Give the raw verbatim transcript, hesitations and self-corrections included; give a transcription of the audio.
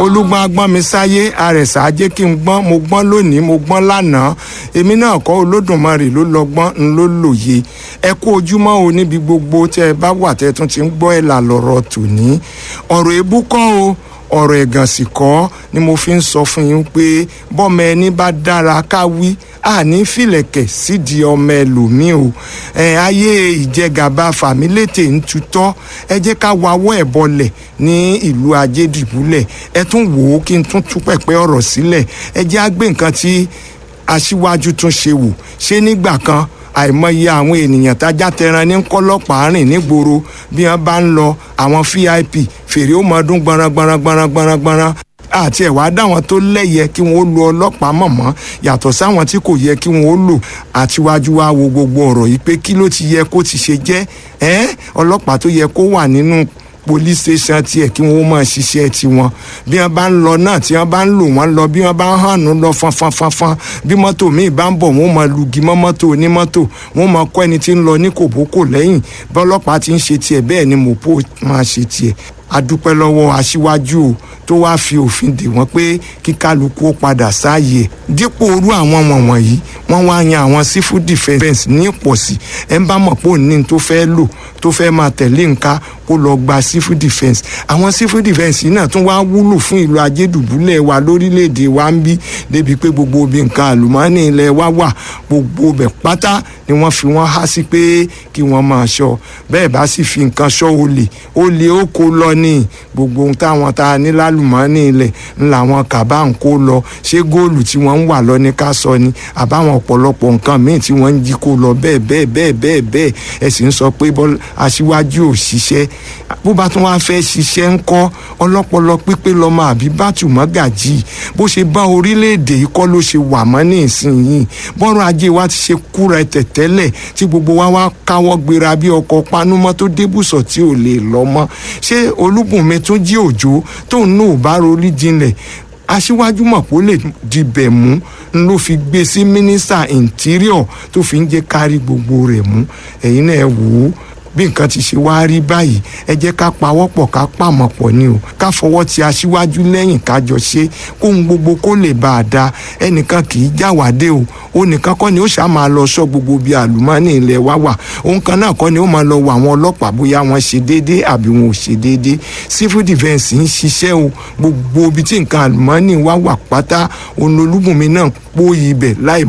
Olúgbọ́n agbọ́n mi sáyé, àrẹ̀sà ajé kí n gbọ́n. Mo gbọ́n lónìí, mo gbọ́n lánàá, èmi náà kọ́, Olódùmarè ló lọ́gbọ́n ń ló lòye. Ẹ kú ojúmọ́ o níbi gbogbo tẹ́ ẹ bá wà tẹ́ ẹ tún ti ń gbọ́. Ẹ̀ là lọ́rọ̀ tòní, ọ̀rọ̀ èébú kọ́ o, ọ̀rọ̀ ẹ̀gàn sì kọ́ ni mo fi ń sọ fún yín pé bọ́mọ ẹni bá dára ká wí, àní fìlẹ̀kẹ̀ sídìí ọmọ ẹlòmíì o. Ẹ ayé ìjẹgàba fàmílétè ń tutọ́, ẹ jẹ́ ká wawọ́ ẹ̀ bọlẹ̀ ní ìlú Ajédìbúlẹ̀. Ẹ tún wò ó kí n tún tú pẹ̀pẹ́ ọ̀rọ̀ sílẹ̀. Ẹ jẹ́ á gbé nǹkan tí aṣíwájú tún ṣe wò. Ṣé nígbà kan, àìmọye àwọn ènìyàn tájá tẹran ní kọlọ́pàá rìn nígboro. Bí wọ́n bá ń lọ, àwọn V I P, fèrè ó mọdún gbọ̀nràn gbọ̀nràn gbọ̀nràn gbọ̀nràn gbọ̀nràn, àti ẹ̀wá dáwọn tó lẹ́yẹ kí wọ́n ó lo ọlọ́pàá mọ̀mọ́, yàtọ̀ sáwọn tí kò yẹ kí wọ́n ó lò. Àtiwájú wa wo gbogbo ọ̀rọ̀ yìí pé kí ló ti yẹ kó ti ṣe jẹ́ ẹ́, ọlọ́pàá tó yẹ kó wà nínú police station tiẹ̀ kí wọ́n máa ṣiṣẹ́ tiwọn. Bí wọ́n bá ń lọ náà, tí wọ́n bá ń lò wọ́n lọ, bí wọ́n bá ń hànú lọ fanfanfanfan, bí mọ́tò míì bá ń bọ̀, wọ́n máa lugi mọ́ mọ́tò onímọ́tò, wọ́n máa kọ́ ẹni tí ń lọ ní kòbókò lẹ́yìn. Bọ́lọ́pàá ti ń ṣe tiẹ̀, bẹ́ẹ̀ ni mọ̀pó máa ṣe tiẹ̀. Adúpẹ́ lọ́wọ́ aṣíwájú o tó wáá fi òfin dè wọ́n pé kí kálukú ó padà sáàyè. Dípò orú àwọn wọ̀nwọ̀nyí, wọ́n wá yan àwọn civil defence ní pọ̀sí. Ẹ̀ ń bá mọ̀ pé òní tó fẹ́ lò, tó fẹ́ máa tẹ̀lé nǹka, kó lọ gba civil defence. Àwọn civil defence yìí náà tún wá wúlò fún ìlú Ajédùbúlẹ̀ wa lórílẹ̀‐èdè wa ń bí, débi pé gbogbo ibi nǹkan àlùmọ́ọ́nì ilẹ̀ wa wà, gbogbo ibẹ̀ pátá ni wọ́n fi wọ́n há sí pé kí wọ́n máa ṣọ́. Bẹ́ẹ̀ bá sì fi nǹkan ṣọ́ olè, olè ó kó lọ ní gbogbo ohun táwọn tá a ní lálùmọ́ọ́nì ilẹ̀ ńlá wọn kàbá ń kó lọ. Ṣé góòlù tí wọ́n ń wà lọ ní ká sọ ni, àbáwọn ọ̀pọ̀lọpọ̀ nǹkan míì tí wọ́n ń jí kó lọ, bẹ́ẹ̀ bẹ́ẹ̀ bẹ́ẹ̀ bẹ́ẹ̀ bẹ́ẹ̀? Ẹ sì ń sọ pé aṣíwájú ò ṣiṣẹ́. Bó bá tún wáá fẹ́ ṣiṣẹ́ ń kọ́, ọlọ́pọlọ pípé lọ́mọ àbí bátùmọ́gàjì. Bó ṣe bá orílẹ̀-èdè yìí kọ́ ló ṣe wà mọ́ ní ìsinyìí. Bọ́rọ̀ ajé wa ti ṣe kúra ẹ̀tẹ̀ tẹ́lẹ̀, tí gbogbo wa wá káwọ́ gbéra bí ọkọ̀ panúmọ́ tó débùsọ̀ tí ò lè lọ mọ́. Ṣé Olúbùnmi tún jí òjò tóun náà ò bá rorí jinlẹ̀? Aṣíwájú mọ̀ pé ó lè dibẹ̀ mú n ló fi gbé sí mínísítà interior tó fi ń jẹ́ kárí gbogbo rẹ̀ mú. Ẹ̀yin náà ẹ wò ó bí nǹkan ti ṣe wá rí báyìí. Ẹ jẹ́ ká pawọ́pọ̀, ká pàmọ̀ pọ̀ ni o, ká fọwọ́ ti aṣíwájú lẹ́yìn, ká jọ ṣe kóhun gbogbo kó lè bá a da. Ẹnìkan kì í jáwádé o. Ó nìkan kọ́ ni ó ṣáà máa lọ sọ gbogbo bíi àlùmọ́ọ́nì ilẹ̀ wa wà. Òun kan náà kọ́ ni ó máa lọ wọ àwọn ọlọ́pàá bóyá wọ́n ṣe déédéé àbí wọn ò ṣe déédéé. Civil defence ń ṣiṣẹ́ o. Gbogbo ibi tí nǹkan àlùmọ́ọ́nì wa wà pátá, òun lolúbùnmi náà pòyì ibẹ̀ láì